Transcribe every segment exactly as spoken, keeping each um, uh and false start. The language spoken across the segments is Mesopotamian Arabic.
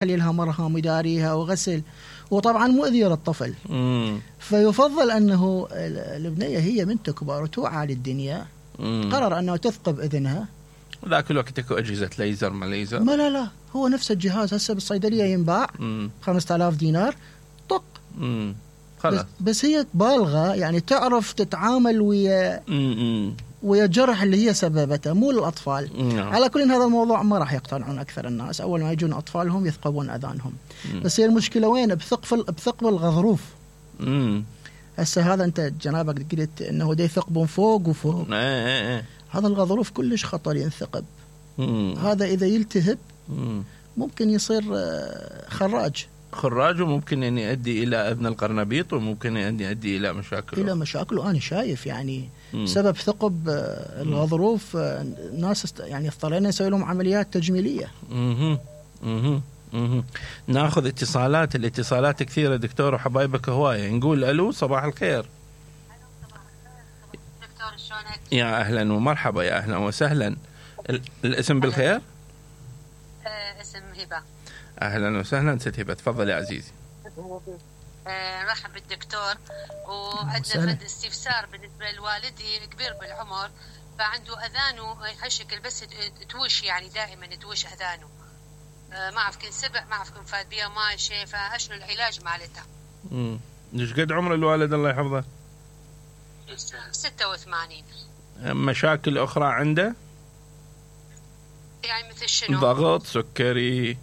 لها مرهم يداريها وغسل، وطبعا مؤذية للطفل. مم. فيفضل أنه البنية هي من تكبر وتوعى للدنيا مم. قرر أنه تثقب إذنها. ذاك الوقت اكو أجهزة ليزر ما ليزر؟ ما لا لا هو نفس الجهاز هسه بالصيدلية ينباع خمسة آلاف دينار طق. مم. بس, بس هي بالغة يعني تعرف تتعامل ويا مم. ويا الجرح اللي هي سببته، مو للأطفال. مم. على كل هذا الموضوع ما راح يقتنعون أكثر الناس، أول ما يجون أطفالهم يثقبون أذانهم. مم. بس هي المشكلة وين؟ بثقب بثقب الغضروف. مم. هسه هذا أنت جنابك قلت إنه دا يثقبون فوق وفوق. ايه ايه ايه. هذا الغضروف كلش خطر ينثقب. مم. هذا إذا يلتهب مم. ممكن يصير خراج خراج، وممكن أن يؤدي إلى أذن القرنبيط، وممكن أن يؤدي إلى مشاكل إلى مشاكل. وأنا شايف يعني مم. سبب ثقب الغضروف الناس يعني اضطرينا نسوي لهم عمليات تجميلية. مم. مم. مم. ناخذ اتصالات. الاتصالات كثيرة دكتور وحبايبك هواية. نقول ألو صباح الخير. دكتور شلونك؟ يا أهلا ومرحبا، يا أهلا وسهلا. الاسم بالخير؟ آه اسم هبة. أهلا وسهلا ست هبة، تفضل يا عزيزي. آه مرحبا بالدكتور. وعندنا فد استفسار بالنسبة لوالدي كبير بالعمر، فعنده أذانه هالشكل بس توش، يعني دائما توش أذانه. آه ما أعرف كن سبع، ما أعرف كن فاد بيها ماي شيء، فأشنو العلاج مالتها؟ امم ايش قد عمر الوالد الله يحفظه؟ ستة وثمانين. مشاكل أخرى عنده؟ يعني مثل شنو؟ ضغط، سكري،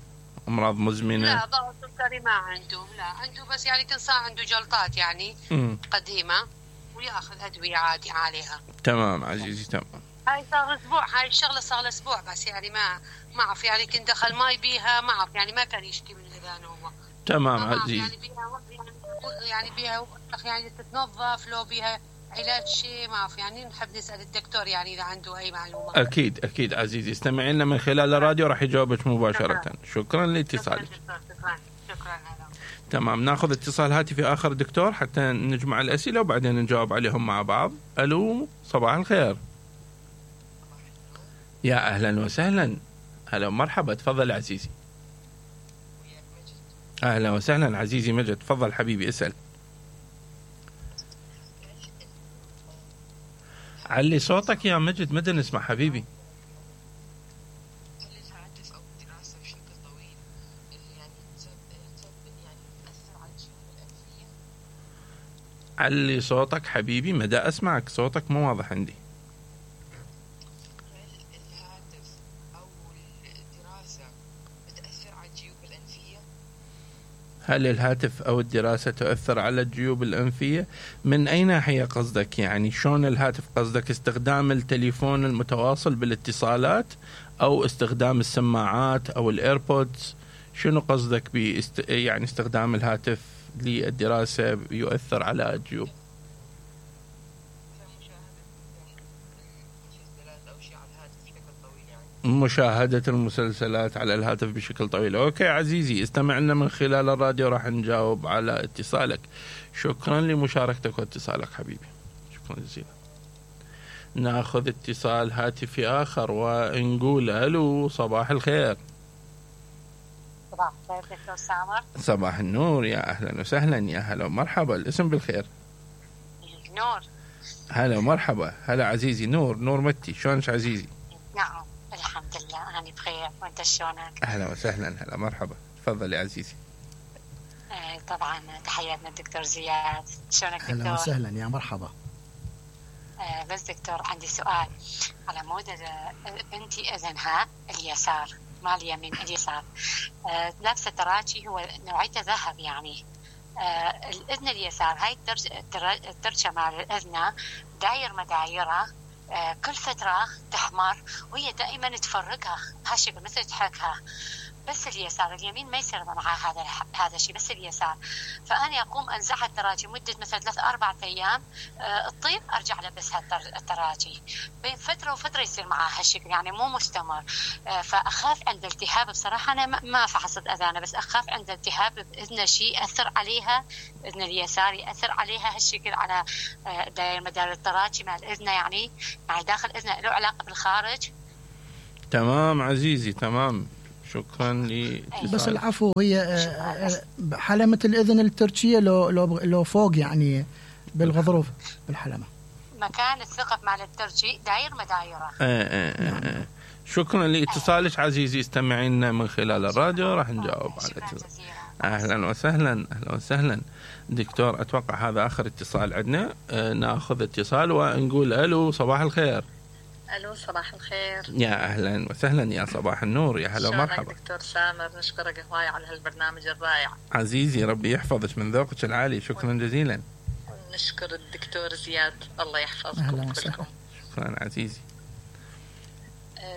أمراض مزمنة؟ لا ضغط سكري ما عنده، لا عنده بس يعني كان صار عنده جلطات يعني مم. قديمة، ويأخذ أدوية عادي عليها. تمام عزيزي تمام. هاي صار أسبوع، هاي الشغلة صار له أسبوع بس يعني ما ما أعرف يعني كنت دخل ماي بيها، ما أعرف يعني ما كان يشكي من الأذان هو. تمام عزيزي. عزيزي. يعني بيها يعني بيها يعني تتنظف، لو بيها علاج شيء ما أعرف، يعني نحب نسأل الدكتور يعني إذا عنده أي معلومة. أكيد أكيد عزيزي، استمعي لنا من خلال الراديو راح يجاوبك مباشرة. شكرا, شكرا لاتصالك. شكرا شكرا, شكرا. تمام، ناخذ اتصال هاتفي آخر دكتور حتى نجمع الأسئلة وبعدين نجاوب عليهم مع بعض. ألو صباح الخير. يا أهلا وسهلا. هلا مرحبا، تفضل عزيزي. أهلا وسهلا عزيزي مجد، تفضل حبيبي اسأل. علي صوتك يا مجد، مدى نسمع حبيبي. علي صوتك حبيبي، مدى أسمعك، صوتك مو واضح عندي. الهاتف أو الدراسة بتأثر على الجيوب الأنفية؟ هل الهاتف أو الدراسة تؤثر على الجيوب الأنفية؟ من أي ناحية قصدك؟ يعني شون الهاتف؟ قصدك استخدام التليفون المتواصل بالاتصالات أو استخدام السماعات أو الإيربودز؟ شنو قصدك بيست... يعني استخدام الهاتف للدراسة يؤثر على الجيوب؟ مشاهدة المسلسلات على الهاتف بشكل طويل. أوكي عزيزي، استمع لنا من خلال الراديو راح نجاوب على اتصالك. شكرا لمشاركتك واتصالك حبيبي، شكرا جزيلا. ناخذ اتصال هاتفي آخر ونقول ألو صباح الخير. صباح الخير دكتور سامر. صباح النور، يا أهلا وسهلا، يا هلا ومرحبا. الاسم بالخير؟ نور. هلا ومرحبا. هلا عزيزي نور، نور متي، شلونك عزيزي؟ نعم الحمد لله أنا بخير، وأنت شلونك؟ أهلا وسهلا، هلا مرحبا، تفضل يا عزيزي. آه طبعا تحياتنا الدكتور زياد، شلونك دكتور؟ أهلا وسهلا، يا مرحبا. آه بس دكتور عندي سؤال على مود بنتي أذنها اليسار ما اليمين، اليسار. آه لابسة تراجي هو نوعيته ذهب يعني. آه الأذن اليسار هاي الترشة مع الأذنة داير مدايرة، آه كل فترة تحمر وهي دائما تفرقها هالشكل مثل تحكها، بس اليسار اليمين ما يصير معها هذا هذا الشيء، بس اليسار. فأنا أقوم أنزعها التراجي مدة مثلا ثلاث أربعة أيام، أه تطيب أرجع لبسها التراجي، بين فترة وفترة يصير معها هالشكل يعني مو مستمر. أه فأخاف عند التهاب، بصراحة أنا ما فحصت أذانها، بس أخاف عند التهاب بإذن شيء أثر عليها، إذن اليسار يأثر عليها هالشكل على أه داير مدار التراجي مع الإذن يعني يعني داخل إذنها له علاقة بالخارج. تمام عزيزي تمام، شكرا لاتصالك. بس العفو، هي آه، حلمة الإذن التركية لو لو لو فوق يعني بالغضروف بالحلمة. مكان الثقب مال الترجي داير مدايره. آه آه آه. شكرا لاتصالك عزيزي، استمعينا من خلال الراديو راح نجاوب على اتصال. اهلا وسهلا اهلا وسهلا دكتور. اتوقع هذا اخر اتصال عندنا. آه ناخذ اتصال ونقول الو صباح الخير. الو صباح الخير. يا اهلا وسهلا يا صباح النور، يا هلا ومرحبا دكتور سامر. نشكرك هواي على هالبرنامج الرائع عزيزي، ربي يحفظك من ذوقك العالي. شكرا جزيلا. نشكر الدكتور زياد، الله يحفظكم أهلا كلكم. شكرا عزيزي.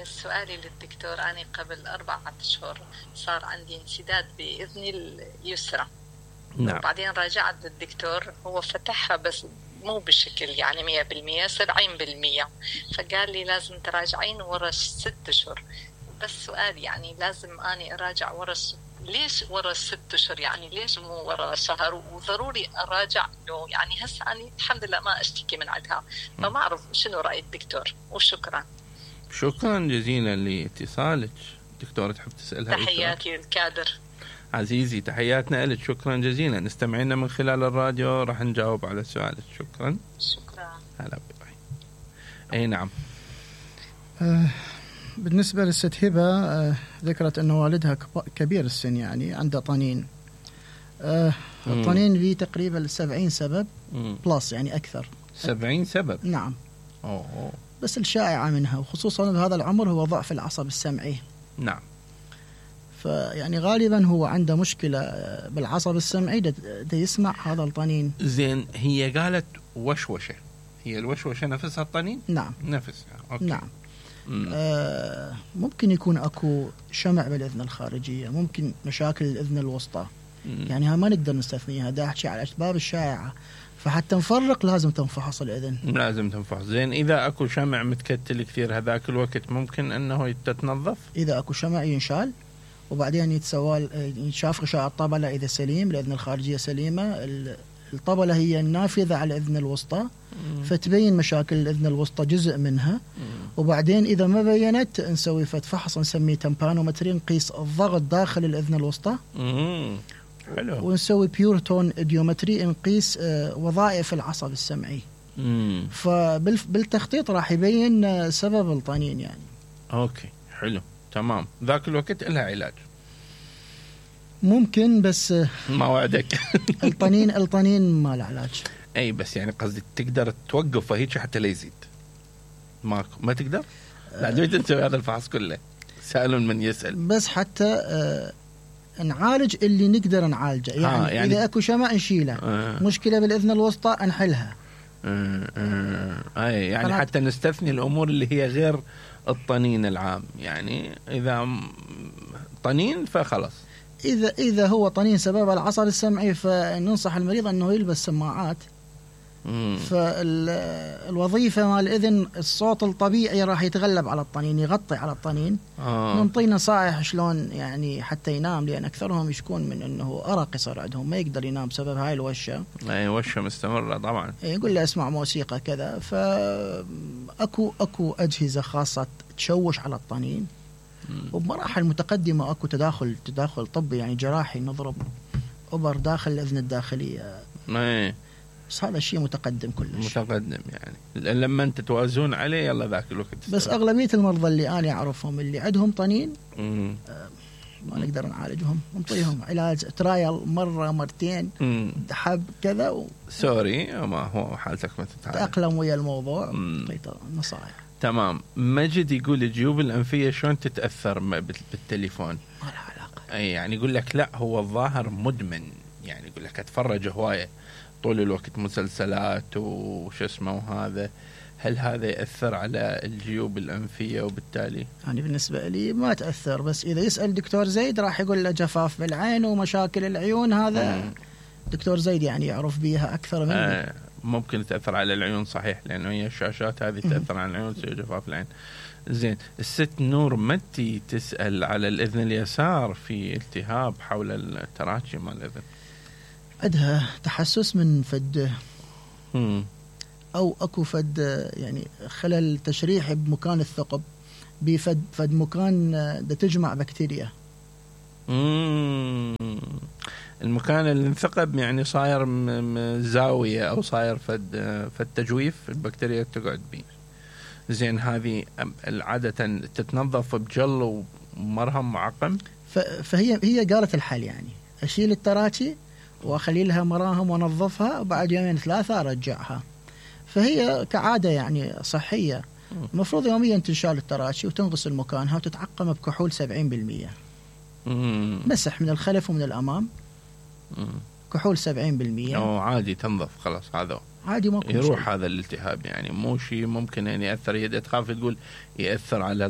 سؤالي للدكتور، أنا قبل أربعة أشهر صار عندي انسداد بإذني اليسرى. نعم. وبعدين راجعت للدكتور، هو فتحها بس مو بشكل يعني مية بالمية، سبعين بالمية، فقال لي لازم تراجعين ورا ست أشهر. بس سؤال يعني لازم أني أراجع ورا ليش ورا ست أشهر؟ يعني ليش مو ورا شهر؟ وضروري أراجع له يعني هسه أنا الحمد لله ما أشتكي من عندها، فما أعرف شنو رأي الدكتور. وشكرا. شكرا جزيلا لاتصالك. دكتورة تحب تسألها؟ تحياتي الكادر عزيزي، تحياتنا لك. شكرا جزيلا. استمعينا من خلال الراديو راح نجاوب على سؤالك. شكرا. شكرا. هلا بك. اي نعم. آه بالنسبة للست هبة، آه ذكرت أن والدها كبير السن، يعني عنده طنين. آه الطنين فيه تقريبا سبعين سبب مم. بلس، يعني أكثر. سبعين سبب؟ نعم. أوه. أوه. بس الشائعة منها وخصوصا بهذا العمر هو ضعف العصب السمعي. نعم. فيعني غالبا هو عنده مشكلة بالعصب السمعي، ده, ده يسمع هذا الطنين. زين، هي قالت وشوشة، هي الوشوشة نفسها الطنين؟ نعم نفسها. أوكي. نعم. آه ممكن يكون أكو شمع بالإذن الخارجية، ممكن مشاكل الإذن الوسطى. مم. يعني ها ما نقدر نستثنيها، دا أحكي على الأسباب الشائعة، فحتى نفرق لازم تنفحص الإذن. لازم تنفحص. زين، إذا أكو شمع متكتل كثير هذاك الوقت ممكن أنه تتنظف؟ إذا أكو شمع ينشال وبعدين يتسوى ينشاف غشاء الطبلة إذا سليم، الإذن الخارجية سليمة. الطبلة هي النافذة على الإذن الوسطى، فتبين مشاكل الإذن الوسطى جزء منها. مم. وبعدين إذا ما بينت نسوي فحص نسميه تمبانومتري، نقيس الضغط داخل الإذن الوسطى. مم. حلو. ونسوي بيورتون إديومتري، نقيس آه وظائف العصب السمعي. مم. فبالتخطيط راح يبين آه سبب الطنين يعني. أوكي حلو تمام. ذاك الوقت لها علاج ممكن، بس ما وعدك. الطنين الطنين ما له علاج. اي بس يعني قصدي تقدر توقفه هيك حتى لا يزيد؟ ما ما تقدر؟ لا دويت تسوي هذا الفحص كله. سأل من يسأل. بس حتى آه نعالج اللي نقدر نعالجه يعني, آه يعني إذا أكو شمع نشيله. آه مشكلة بالإذن الوسطى نحلها. آه آه أي يعني حتى نستثني الأمور اللي هي غير الطنين العام. يعني إذا طنين فخلص. إذا إذا هو طنين سبب العصب السمعي فننصح المريض أنه يلبس سماعات. فالوظيفة مال الإذن الصوت الطبيعي راح يتغلب على الطنين، يغطي على الطنين. آه. ننطي نصائح شلون يعني حتى ينام، لأن أكثرهم يشكون من أنه أرق يصير عندهم، ما يقدر ينام بسبب هاي الوشة. أي وشة مستمرة طبعا. يقول له اسمع موسيقى كذا. فأكو أكو أجهزة خاصة تشوش على الطنين. وبمراحل متقدمة أكو تداخل تداخل طبي يعني جراحي، نضرب أبر داخل الأذن الداخلية. ايه بس هذا الشيء متقدم كلش. متقدم يعني لما أنت توازون عليه يلا ذاك الوقت. بس أغلبية المرضى اللي أنا أعرفهم اللي عندهم طنين آه ما نقدر نعالجهم، نعطيهم علاج ترايل مرة مرتين حب كذا و... سوري ما هو حالتك ما تتعالج، تأقلم ويا الموضوع. تعطيه نصائح. تمام. مجد يقول الجيوب الأنفية شلون تتأثر بالتليفون؟ ما لها علاقة. أي يعني يقول لك لا هو الظاهر مدمن، يعني يقول لك أتفرج هواية طول الوقت مسلسلات وش اسمه وهذا، هل هذا يأثر على الجيوب الأنفية وبالتالي؟ يعني بالنسبة لي ما تأثر، بس إذا يسأل دكتور زيد راح يقول له جفاف بالعين ومشاكل العيون، هذا مم. دكتور زيد يعني يعرف بيها أكثر مني. آه ممكن تأثر على العيون صحيح، لأنه هي الشاشات هذه تأثر على العيون تصير جفاف العين. زين، الست نور متي تسأل على الإذن اليسار في التهاب حول التراكي مال الإذن، عندها تحسس من فد مم. أو أكو فد يعني خلل تشريحي بمكان الثقب، بفد فد مكان ده تجمع بكتيريا. مم. المكان اللي انثقب يعني صاير زاوية أو صاير فد فد تجويف البكتيريا تقعد بيه. زين هذه عادة تتنظف بجل ومرهم معقم. فهي هي قالت الحل يعني أشيل التراتي وأخلي لها مراهم وأنظفها وبعد يومين ثلاثة أرجعها. فهي كعادة يعني صحية. المفروض يوميا تنشال التراتي وتنغسل مكانها وتتعقم بكحول سبعين بالمية. مسح من الخلف ومن الأمام. مم. كحول سبعين بالمية. أو عادي تنظف خلاص هذا. عادي ما يروح شيء. هذا الالتهاب يعني مو شيء ممكن يعني يأثر. يد تخاف تقول يأثر على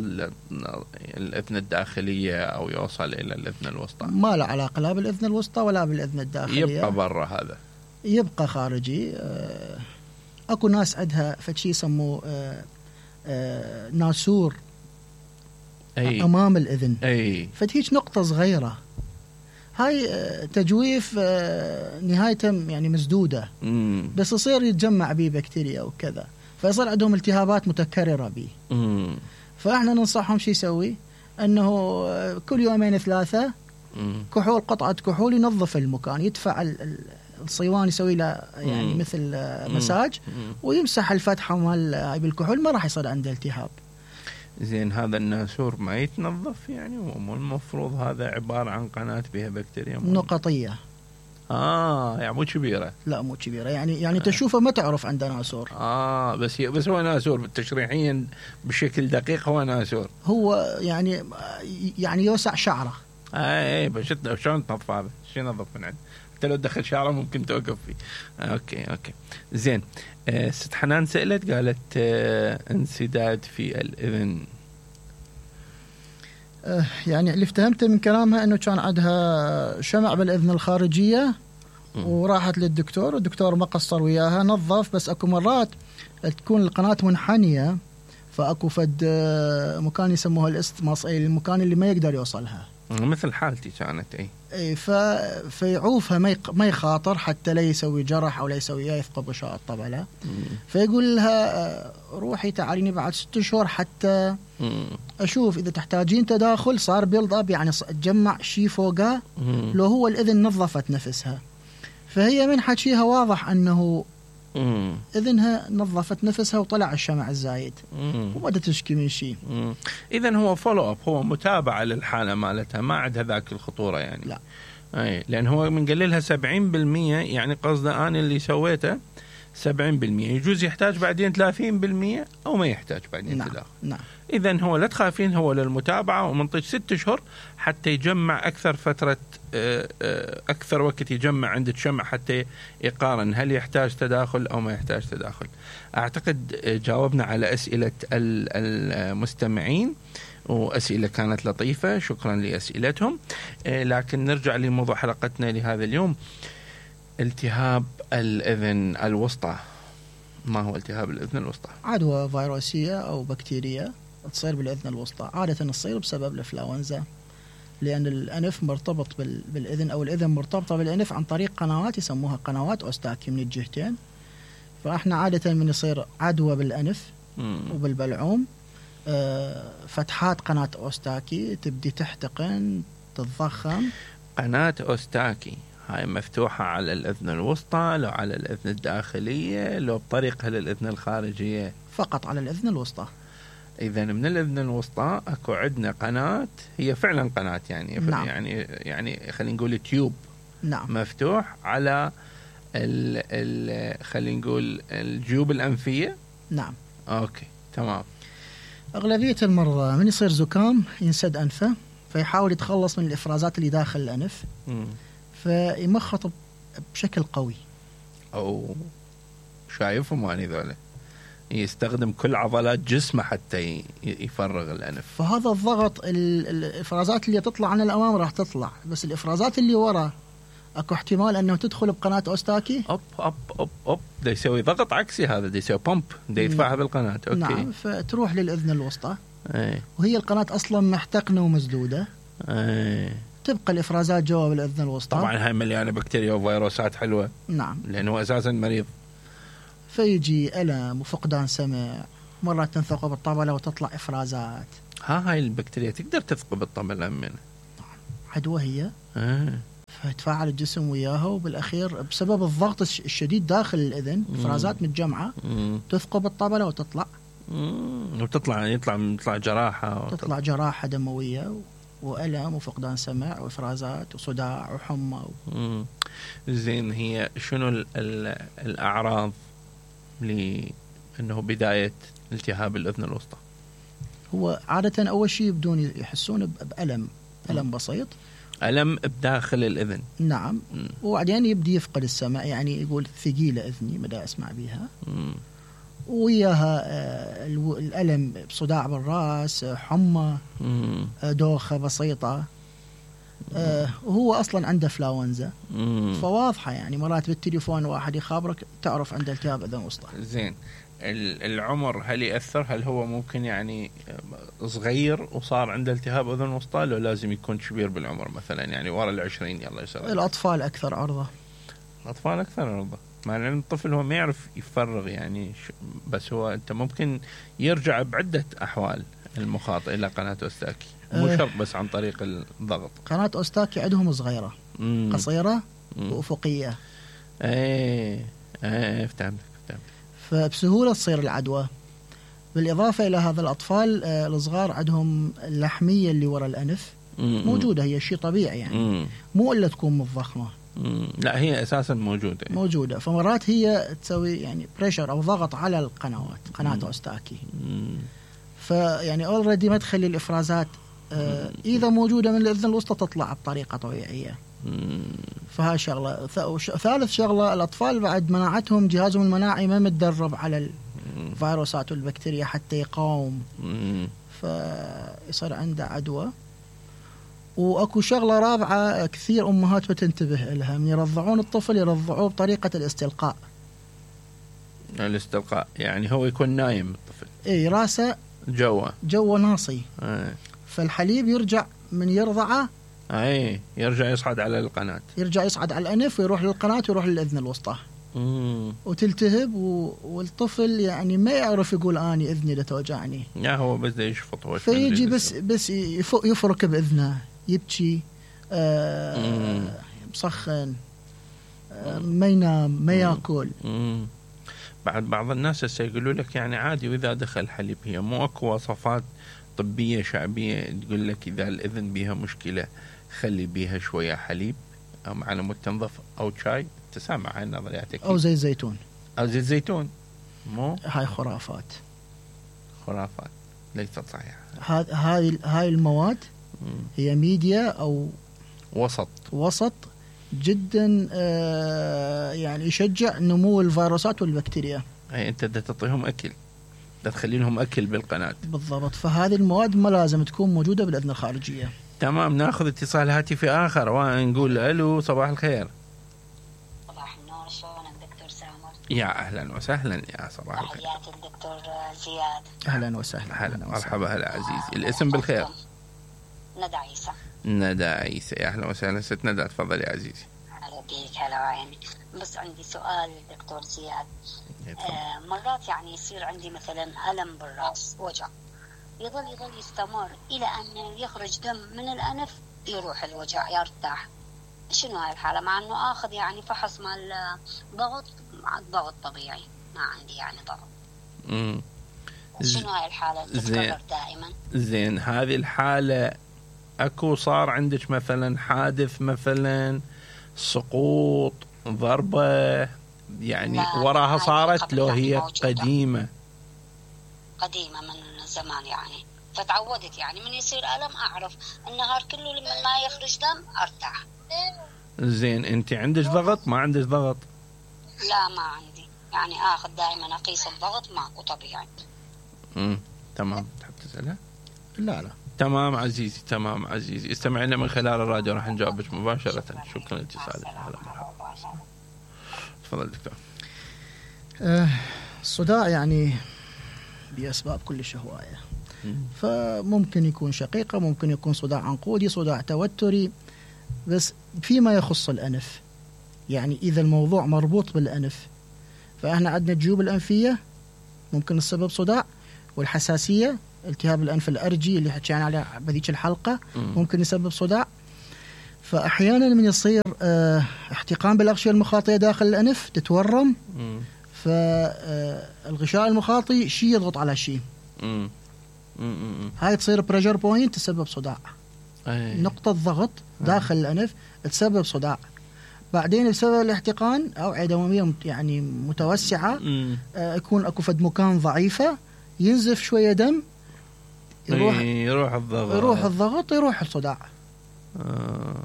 الأذن الداخلية أو يوصل إلى الأذن الوسطى. ما له علاقة لا بالأذن الوسطى ولا بالأذن الداخلية. يبقى برا هذا. يبقى خارجي. آه أكو ناس عندها فشي يسموه آه آه ناسور. أي. أمام الأذن. أي. فتهيج نقطة صغيرة. هاي تجويف نهايته يعني مسدودة. مم. بس يصير يتجمع به بكتيريا وكذا فيصير عندهم التهابات متكررة به. مم. فإحنا ننصحهم شو يسوي أنه كل يومين ثلاثة مم. كحول قطعة كحول ينظف المكان يدفع الصيوان يسوي له يعني مم. مثل مساج مم. ويمسح الفتحة مال بالكحول ما راح يصير عنده التهاب. زين هذا الناسور ما يتنظف يعني ومو المفروض هذا عبارة عن قناة بها بكتيريا نقطية. آه يعني مو كبيرة. لا مو كبيرة يعني يعني تشوفه ما تعرف عنده ناسور. آه بس بس هو ناسور تشريحيا بشكل دقيق هو ناسور. هو يعني يعني يوسع شعره. آه إيه بس شلون تنظف هذا؟ شو ينظف من عنده؟ حتى لو دخل شعره ممكن توقف فيه. آه أوكي أوكي زين. آه ست حنان سألت قالت آه انسداد في الأذن. آه يعني اللي افتهمته من كلامها انه كان عندها شمع بالاذن الخارجيه م. وراحت للدكتور والدكتور ما قصر وياها نظف بس اكو مرات تكون القناه منحنيه فاكو فد مكان يسموها الاستماس اي المكان اللي ما يقدر يوصلها مثل حالتي كانت اي اي ف فيعوفها ما يق... ما يخاطر حتى لا يسوي جرح او لا يسوي يثقب غشاء الطبله. فيقول لها روحي تعاليني بعد ست شهور حتى مم. اشوف اذا تحتاجين تداخل صار بيلد اب يعني تجمع شيء فوقه لو هو الاذن نظفت نفسها. فهي من حكيها واضح انه مم. اذنها نظفت نفسها وطلع الشمع الزايد وما تشكي من شيء. اذا هو فولو اب هو متابعه للحاله مالتها ما عندها ذاك الخطوره يعني. لا اي لان هو من قللها سبعين بالمية يعني قصده انا اللي سويته سبعين بالمية يجوز يحتاج بعدين ثلاثين بالمية او ما يحتاج بعدين نعم. تداخل. نعم. اذا هو لا تخافين هو للمتابعه ومنطق ست اشهر حتى يجمع اكثر فتره اكثر وقت يجمع عند الشمع حتى يقارن هل يحتاج تداخل او ما يحتاج تداخل. اعتقد جاوبنا على اسئله المستمعين واسئله كانت لطيفه شكرا لاسئلتهم. لكن نرجع لموضوع حلقتنا لهذا اليوم التهاب الاذن الوسطى. ما هو التهاب الأذن الوسطى؟ عدوى فيروسية أو بكتيرية تصير بالأذن الوسطى عادة تصير بسبب الإنفلونزا لأن الأنف مرتبط بالأذن أو الأذن مرتبطة بالأنف عن طريق قنوات يسموها قنوات أوستاكي من الجهتين. فإحنا عادة من يصير عدوى بالأنف مم. وبالبلعوم فتحات قناة أوستاكي تبدي تحتقن تتضخم. قناة أوستاكي هاي مفتوحة على الأذن الوسطى لو على الأذن الداخلية لو بطريقها للأذن الخارجية؟ فقط على الأذن الوسطى. إذا من الأذن الوسطى أكو عندنا قناة هي فعلا قناة يعني نعم. يعني يعني خلينا نقول تيوب نعم. مفتوح على ال ال خلينا نقول الجيوب الأنفية. نعم. أوكي تمام. أغلبية المرضى من يصير زكام ينسد أنفه فيحاول يتخلص من الإفرازات اللي داخل الأنف م. فيمخط بشكل قوي. أو شايفهم أنا ذولا يستخدم كل عضلات جسمه حتى يفرغ الأنف. فهذا الضغط الإفرازات اللي تطلع عن الأمام راح تطلع بس الإفرازات اللي ورا أكو احتمال أنه تدخل بقناة أوستاكي. أوب أوب أوب أوب ده يسوي ضغط عكسي هذا ده يسوي بومب ده يدفعها بالقناة. أوكي. نعم فتروح للأذن الوسطى. أي. وهي القناة أصلا محتقنة ومسدودة. أي. تبقى الإفرازات جوا بالأذن الوسطى. طبعا هاي مليانة بكتيريا وفيروسات حلوة. نعم. لأنه أساسا مريض. فيجي ألم وفقدان سمع مرات تنثقب الطبلة وتطلع إفرازات. ها هاي البكتيريا تقدر تثقب الطبلة منه. عدوى هي آه. فتفاعل الجسم وياها، وبالأخير بسبب الضغط الشديد داخل الأذن إفرازات متجمعة مم. تثقب الطبلة وتطلع مم. وتطلع يطلع يطلع جراحة تطلع جراحة دموية وألم وفقدان سمع وإفرازات وصداع وحمى و... مم. زين، هي شنو ال ال الأعراض لأنه بداية التهاب الأذن الوسطى؟ هو عادة أول شيء يبدون يحسون بألم ألم بسيط، ألم بداخل الأذن. نعم. مم. وبعدين يبدي يفقد السمع، يعني يقول ثقيلة أذني مدى أسمع بها، مم. وياها آه، الو- الألم بصداع بالرأس، آه، حمى، مم. آه، دوخة بسيطة، آه، وهو أصلا عنده فلاونزا، مم. فواضحة يعني مرات بالتليفون واحد يخابرك تعرف عنده التهاب أذن وسطى. زين، ال- العمر هل يأثر؟ هل هو ممكن يعني صغير وصار عنده التهاب أذن وسطى، لو لازم يكون كبير بالعمر مثلا يعني ورا العشرين يلا يصير؟ الأطفال أكثر عرضة. الأطفال أكثر عرضة، مع أن الطفل هو ما يعرف يفرغ يعني ش- بس هو أنت ممكن يرجع بعدة أحوال المخاط إلى قناة أوستاكي، مو أه. شرط بس عن طريق الضغط. قناة أوستاكي عندهم صغيرة، مم. قصيرة مم. وأفقية، ايه ايه فهمت فهمت. فبسهولة تصير العدوى. بالإضافة إلى هذا الأطفال آه، الصغار عندهم اللحمية اللي وراء الأنف مم. موجودة، هي شيء طبيعي يعني، مم. مو إلا تكون متضخمة، مم. لا هي أساسا موجودة. موجودة، فمرات هي تسوي يعني بريشر أو ضغط على القنوات قناة مم. أوستاكي، مم. فيعني أولريدي ما تخلي الإفرازات آه، إذا موجودة من الأذن الوسطى تطلع بطريقة طبيعية. مم. فهاي شغلة. ث- وش- ثالث شغلة، الأطفال بعد مناعتهم جهازهم المناعي ما متدرب على الفيروسات والبكتيريا حتى يقاوم، مم. فيصير عنده عدوى. واكو شغله رابعه كثير امهات بتنتبه لها، من يرضعون الطفل يرضعوه بطريقه الاستلقاء. الاستلقاء يعني هو يكون نايم الطفل، اي راسه جوا جو ناصي، ايه. فالحليب يرجع من يرضعه ايه يرجع يصعد على القناة، يرجع يصعد على الانف ويروح للقناه ويروح للاذن الوسطى مم. وتلتهب، و... والطفل يعني ما يعرف يقول اني اذني لا توجعني، يا هو بس ده يشفط هو فيجي بس بس يف- يفرك باذنه، يبكي، آه مسخن، آه ما ينام ما ياكل. مم. بعد بعض الناس هسه يقولوا لك يعني عادي واذا دخل حليب، هي مو اكو وصفات طبية شعبية تقول لك اذا الاذن بيها مشكلة خلي بيها شوية حليب او على مود تنظف او شاي؟ تسامع هاي النظريات أكيد. او زيت زيتون، او زيت زيتون، مو هاي خرافات. خرافات ليست صحيحة. هذ- هاي هاي المواد مم. هي ميديا او وسط. وسط جدا آه يعني يشجع نمو الفيروسات والبكتيريا. اي انت بدك تعطيهم اكل، بدك تخلي لهم اكل بالقناة. بالضبط، فهذه المواد ما لازم تكون موجوده بالاذن الخارجيه. تمام، ناخذ اتصال هاتفي اخر ونقول الو صباح الخير. صباح النور، شلونك دكتور سامر؟ يا اهلا وسهلا يا صباح الخير. تحياتي الدكتور زياد. اهلا وسهلا. هلا أهلاً مرحبا هلا عزيزي، الاسم بالخير. ندى عيسى. ندى عيسى، يا اهلا وسهلا ست ندى، تفضلي يا عزيزي. هلا بيك، هلا وعيني. بس عندي سؤال دكتور زياد. آه مرات يعني يصير عندي مثلا ألم بالرأس، وجع يظل يظل يستمر إلى أن يخرج دم من الأنف، يروح الوجع يرتاح. شنو هاي الحالة؟ مع أنه آخذ يعني فحص مال ضغط، مع الضغط طبيعي، ما عندي يعني ضغط. امم شنو هاي الحالة تتكرر دائما؟ زين، هذه الحالة اكو صار عندك مثلا حادث، مثلا سقوط، ضربة يعني لا، وراها هاي صارت قبل لو يعني هي موجودة. قديمة؟ قديمة من زمان يعني، فتعودت يعني من يصير ألم أعرف النهار كله لما ما يخرج دم أرتاح. زين، انت عندك ضغط ما عندك ضغط؟ لا ما عندي، يعني آخذ دائما أقيس الضغط ماكو طبيعي. امم تمام، تحب تسألها؟ لا لا تمام عزيزي، تمام عزيزي، استمعنا من خلال الراديو راح نجاوبك مباشرة. شكرا لاتصالك. هلا مرحبا. تفضل دكتور. آه الصداع يعني بأسباب كلش هواية، فممكن يكون شقيقة، ممكن يكون صداع عنقودي، صداع توتري، بس فيما يخص الأنف يعني إذا الموضوع مربوط بالأنف فإحنا عندنا الجيوب الأنفية ممكن السبب صداع، والحساسية التهاب الأنف الأرجي اللي حكينا عليه بهذيك الحلقة ممكن يسبب صداع. فأحيانا من يصير اه احتقان بالأغشية المخاطية داخل الأنف تتورم، فالغشاء المخاطي شيء يضغط على شيء، هاي تصير بريشر بوينت تسبب صداع. أي. نقطة ضغط داخل أي. الأنف تسبب صداع. بعدين بسبب الاحتقان أوعية دموية يعني متوسعة، آه يكون أكو فد مكان ضعيفة، ينزف شوية دم، يروح يروح الضغط يروح الضغط يروح الصداع. آه.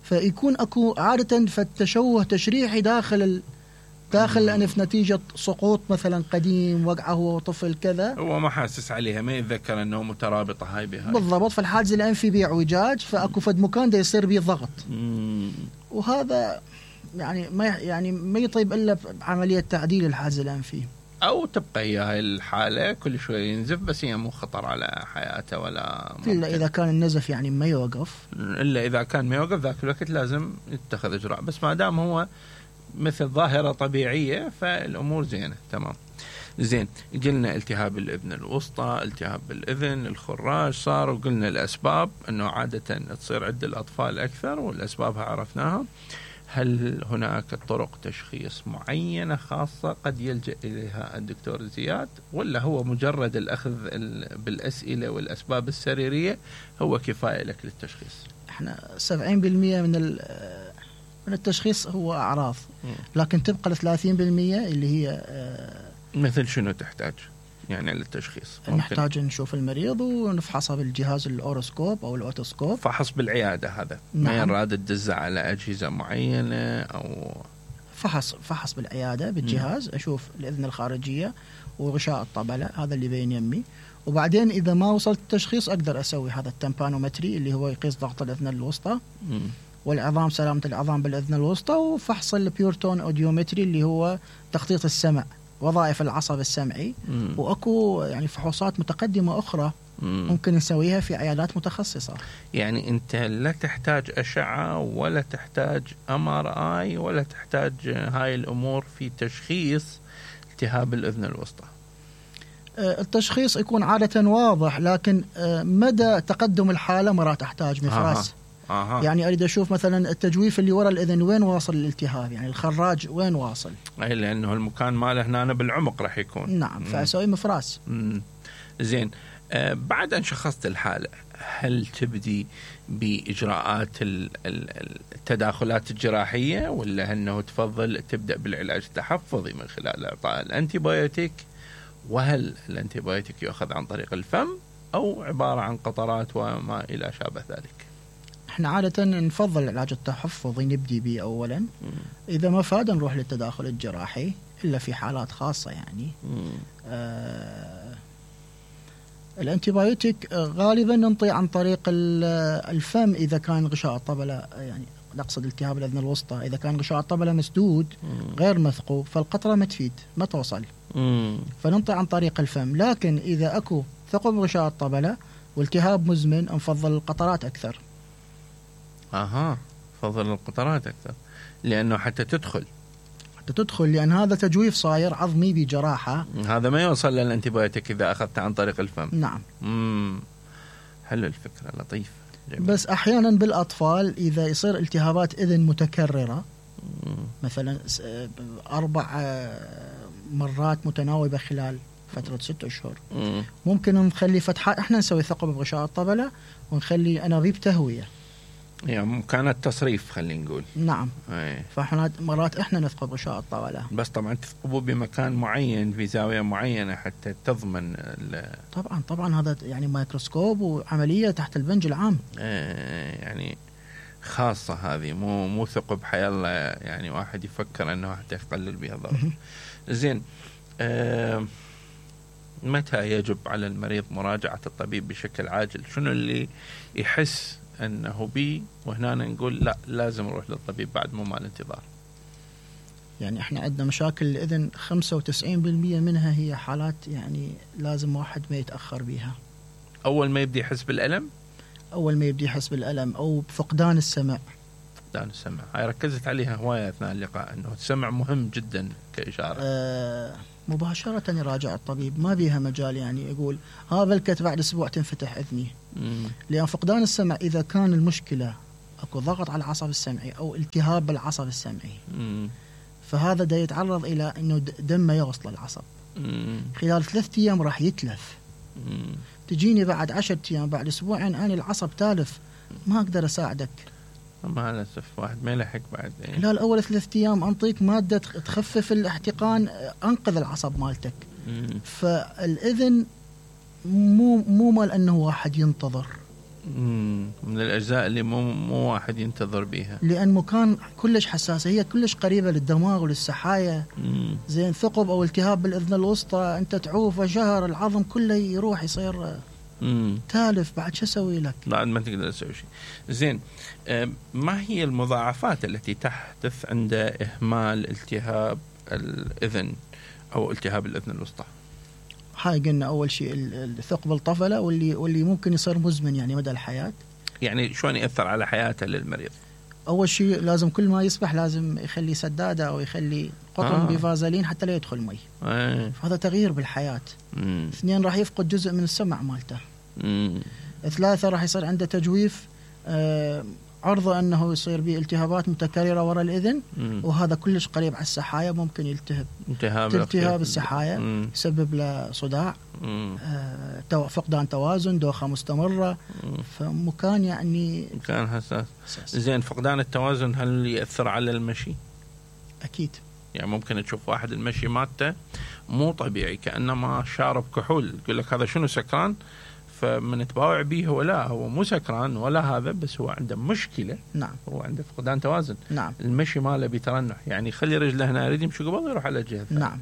فيكون أكو عادة فالتشوه تشريحي داخل ال... داخل الأنف نتيجة سقوط مثلا قديم، وقعه هو طفل كذا، هو ما حاسس عليها، ما يتذكر أنه مترابطة هاي بهاي بالضبط. فالحاجز الأنفي بإعوجاج، فأكو فد مكان دا يصير بيه ضغط، وهذا يعني ما يعني ما يطيب إلا بعملية تعديل الحاجز الأنفي، أو تبقى هي هاي الحالة كل شوي ينزف، بس هي مو خطر على حياته ولا ممكن. إلا إذا كان النزف يعني ما يوقف، إلا إذا كان ما يوقف ذاك الوقت لازم يتخذ إجراء، بس ما دام هو مثل ظاهرة طبيعية فالأمور زينة تمام. زين، قلنا التهاب الأذن الوسطى، التهاب بالأذن، الخراج صار، وقلنا الأسباب أنه عادة تصير عند الأطفال أكثر والأسبابها عرفناها. هل هناك طرق تشخيص معينة خاصة قد يلجأ إليها الدكتور زياد، ولا هو مجرد الأخذ بالأسئلة والأسباب السريرية هو كفاية لك للتشخيص؟ احنا سبعين بالمئة من من التشخيص هو أعراض، لكن تبقى ثلاثين بالمئة اللي هي مثل شنو تحتاج يعني للتشخيص؟ نحتاج نشوف المريض ونفحصه بالجهاز الأوروسكوب أو الأوتوسكوب. فحص بالعيادة هذا؟ نعم. ما يراد تدز على أجهزة معينة أو فحص فحص بالعيادة بالجهاز، م. أشوف الأذن الخارجية وغشاء الطبلة، هذا اللي بين يمي. وبعدين إذا ما وصلت التشخيص أقدر أسوي هذا التمبانومتري اللي هو يقيس ضغط الأذن الوسطى، م. والعظام، سلامة العظام بالأذن الوسطى، وفحص البيورتون أوديومتري اللي هو تخطيط السمع، وظائف العصب السمعي. مم. وأكو يعني فحوصات متقدمة أخرى مم. ممكن نسويها في عيادات متخصصة. يعني أنت لا تحتاج أشعة ولا تحتاج أم آر آي ولا تحتاج هاي الأمور في تشخيص التهاب الأذن الوسطى؟ التشخيص يكون عادة واضح، لكن مدى تقدم الحالة مرات تحتاج مفراس. آه. يعني أريد أشوف مثلا التجويف اللي وراء الأذن وين واصل الالتهاب، يعني الخراج وين واصل، أي لأنه المكان ماله هنا بالعمق راح يكون. نعم، فأسوي مفراس. مم. زين، آه بعد أن شخصت الحالة هل تبدي بإجراءات التداخلات الجراحية، ولا أنه تفضل تبدأ بالعلاج التحفظي من خلال إعطاء الأنتيبيوتيك؟ وهل الأنتيبيوتيك يؤخذ عن طريق الفم أو عبارة عن قطرات وما إلى شابه ذلك؟ احنا عادة نفضل العلاج التحفظي نبدي به أولا، إذا ما فاد نروح للتداخل الجراحي إلا في حالات خاصة يعني. آه الأنتيبيوتيك غالبا ننطي عن طريق الفم إذا كان غشاء الطبلة، يعني نقصد التهاب الأذن الوسطى، إذا كان غشاء الطبلة مسدود غير مثقوب فالقطرة ما تفيد ما توصل، فننطي عن طريق الفم. لكن إذا أكو ثقب غشاء الطبلة والتهاب مزمن نفضل القطرات أكثر. اها، فضل القطرات اكثر لانه حتى تدخل حتى تدخل لان هذا تجويف صاير عظمي بجراحه، هذا ما يوصل للانتيبيوتيك اذا اخذته عن طريق الفم. نعم. امم حلو الفكره، لطيف. جميل. بس احيانا بالاطفال اذا يصير التهابات اذن متكرره، مم. مثلا اربع مرات متناوبه خلال فتره ست اشهر، مم. ممكن نخلي فتحات، احنا نسوي ثقب بغشاء الطبله ونخلي انابيب تهويه، يعني كانت تصريف خلينا نقول. نعم. أي. فاحنا مرات احنا نثقب غشاء الطبله، بس طبعا تثقبوا بمكان معين في زاويه معينه حتى تضمن طبعا طبعا هذا يعني مايكروسكوب وعمليه تحت البنج العام. ايه يعني خاصه هذه، مو مو ثقب حي الله يعني واحد يفكر انه حتى يقلل بها ضرر. زين، آه متى يجب على المريض مراجعه الطبيب بشكل عاجل؟ شنو اللي يحس أنه بي وهنا نقول لا لازم نروح للطبيب بعد مو مال انتظار؟ يعني احنا عندنا مشاكل الإذن خمسة وتسعين بالمئة منها هي حالات يعني لازم واحد ما يتأخر بيها. أول ما يبدي يحس بالألم؟ أول ما يبدي يحس بالألم أو بفقدان السمع. فقدان السمع هاي ركزت عليها هواية أثناء اللقاء، أنه السمع مهم جدا كإشارة. آه مباشرة يراجع الطبيب، ما بيها مجال يعني يقول ها بلكت بعد أسبوع تنفتح إذني. مم. لأن فقدان السمع إذا كان المشكلة اكو ضغط على العصب السمعي او التهاب بالعصب السمعي. مم. فهذا دا يتعرض الى انه دمه يوصل للعصب. مم. خلال ثلاثة ايام راح يتلف. مم. تجيني بعد عشرة ايام بعد اسبوعين انا العصب تالف ما اقدر اساعدك. مع الاسف واحد ما يلحق بعد. إيه. خلال اول ثلاثة ايام انطيك ماده تخفف الاحتقان، انقذ العصب مالتك. مم. فالاذن مو مو مال انه واحد ينتظر. مم. من الاجزاء اللي مو مو واحد ينتظر بيها، لان مكان كلش حساسه، هي كلش قريبه للدماغ وللسحايا. مم. زين ثقب او التهاب بالاذن الوسطى انت تعوفه شهر العظم كله يروح يصير مم. تالف، بعد شو اسوي لك؟ بعد ما تقدر تسوي شيء. زين، آه، ما هي المضاعفات التي تحدث عند اهمال التهاب الاذن او التهاب الاذن الوسطى؟ هاي قلنا اول شيء الثقب الطفله واللي واللي ممكن يصير مزمن يعني مدى الحياه. يعني شلون ياثر على حياته للمريض؟ اول شيء لازم كل ما يسبح لازم يخلي سداده او يخلي قطن آه. بفازلين حتى لا يدخل مي. آه. هذا تغيير بالحياه. مم. اثنين راح يفقد جزء من السمع مالته. مم. ثلاثه راح يصير عنده تجويف، آه عرضه انه يصير به التهابات متكرره وراء الاذن. مم. وهذا كلش قريب على السحايا، ممكن يلتهب التهاب التهاب السحايا. مم. يسبب له صداع، مم. آه تو- فقدان توازن، دوخه مستمره. مم. فمكان يعني كان حساس. حساس. زين، فقدان التوازن هل ياثر على المشي؟ اكيد. يعني ممكن تشوف واحد المشي مالته مو طبيعي، كأنما شارب كحول، يقول لك هذا شنو سكران؟ فمن تباوع به هو لا، هو مو سكران ولا هذا، بس هو عنده مشكلة. نعم. هو عنده فقدان توازن. نعم. المشي ماله بيترنح، يعني خلي رجله هنا يريد يمشي قبل يروح على الجهة الثانية. نعم.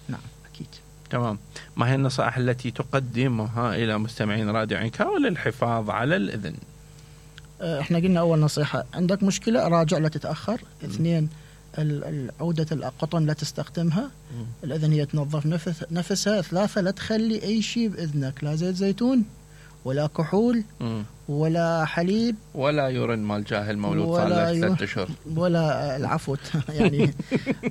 نعم اكيد. تمام. ما هي النصائح التي تقدمها إلى مستمعين راديو عنكاو للحفاظ على الإذن؟ احنا قلنا اول نصيحه عندك مشكله راجع لا تتاخر. اثنين ال- ال- عوده القطن لا تستخدمها. مم. الاذن هي تنظف نفس نفسها. ثلاثه لا تخلي اي شيء باذنك، لا زيت زيتون ولا كحول مم. ولا حليب ولا يورن مال جاهل مولود صار ولا له يو- ثلاث اشهر. ولا العفو يعني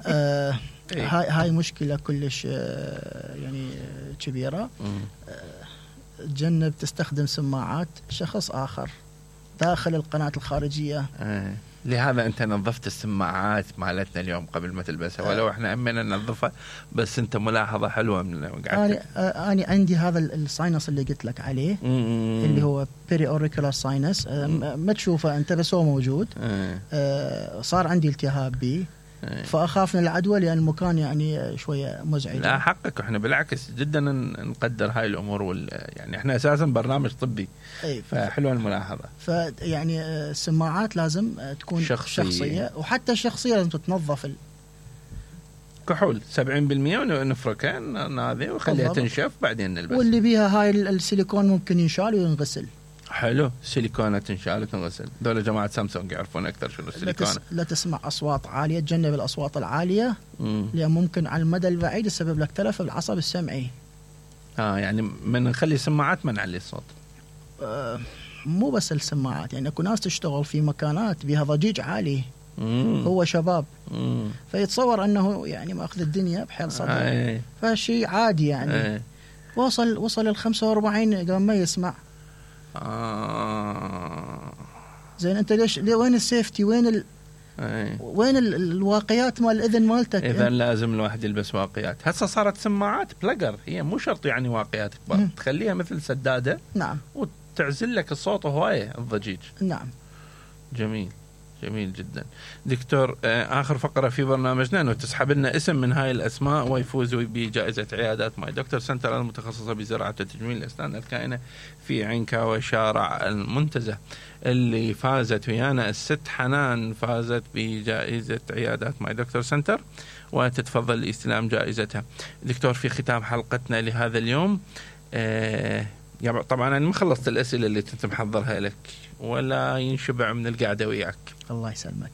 آه إيه. هاي هاي مشكله كلش آه يعني آه، كبيره. مم. تجنب تستخدم سماعات شخص اخر داخل القناه الخارجيه. آه. لهذا انت نظفت السماعات مالتنا اليوم قبل ما تلبسها، ولو احنا امنا ننظفها، بس انت ملاحظه حلوه من انا انا عندي هذا الساينس اللي قلت لك عليه، مم. اللي هو بيري اوريكولار ساينس. ما تشوفه انت بس هو موجود. آه. آه، صار عندي التهاب به، آه. فاخاف من العدوى لان المكان يعني شويه مزعج. لا حقك، احنا بالعكس جدا نقدر هاي الامور وال... يعني احنا اساسا برنامج طبي، اي فحلوه الملاحظه. فيعني آه، السماعات لازم آه، تكون شخصية. شخصيه، وحتى الشخصيه لازم تتنظف. ال- كحول سبعين بالمئة ونفركها ناذي وخليها بالضبط. تنشف بعدين نلبس. واللي بيها هاي ال- السيليكون ممكن ينشال وينغسل. حلو، سيليكونه تنشال وتنغسل. دول جماعه سامسونج يعرفون اكثر شنو لا, السيليكونه. تس... لا تسمع اصوات عاليه، تجنب الاصوات العاليه مم. لان ممكن على المدى البعيد يسبب لك تلف بالعصب السمعي. اه يعني من نخلي سماعات ما نعلي الصوت. آه، مو بس السماعات، يعني اكو ناس تشتغل في مكانات بها ضجيج عالي. مم. هو شباب مم. فيتصور انه يعني ماخذ الدنيا بحيل صدر. آه. فشيء عادي يعني. آه. وصل وصل ال خمسة وأربعين قبل ما يسمع. آه. زين انت ليش ليه وين السيفتي؟ وين ال... آه. وين ال... الواقيات مال الاذن مالتك؟ اذا لازم الواحد يلبس واقيات. هسه صارت سماعات بلجر، هي مو شرط يعني واقيات كبار، مم. تخليها مثل سداده نعم. وتعزل لك الصوت هوايه الضجيج. نعم. جميل، جميل جدا. دكتور، آه، آخر فقرة في برنامجنا أنه تسحب لنا اسم من هاي الأسماء ويفوز بجائزة عيادات ماي دكتور سنتر المتخصصة بزراعة وتجميل الأسنان الكائنة في عنكاوي شارع المنتزه، اللي فازت ويانا الست حنان، فازت بجائزة عيادات ماي دكتور سنتر وتتفضل لاستلام جائزتها. دكتور، في ختام حلقتنا لهذا اليوم، آه يعني طبعا أنا ما خلصت الأسئلة اللي كنت محضرها لك ولا ينشبع من القعدة وياك. الله يسلمك.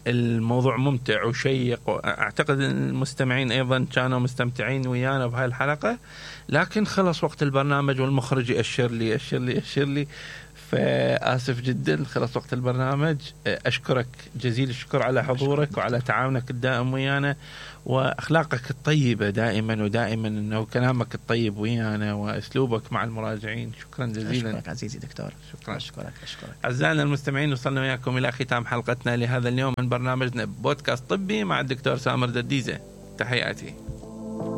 الموضوع ممتع وشيق، وأعتقد أن المستمعين أيضا كانوا مستمتعين ويانا بهاي الحلقة، لكن خلص وقت البرنامج والمخرج يأشر لي يأشر لي يأشر لي فآسف جدا خلص وقت البرنامج. أشكرك جزيل الشكر على حضورك وعلى تعاونك الدائم ويانا وأخلاقك الطيبة دائما ودائما، أنه كلامك الطيب ويانا وأسلوبك مع المراجعين. شكرا جزيلا. أشكرك عزيزي دكتور. شكرا. أشكرك أشكرك. أعزائنا المستمعين، وصلنا وياكم إلى ختام حلقتنا لهذا اليوم من برنامجنا بودكاست طبي مع الدكتور سامر دديزة. تحياتي.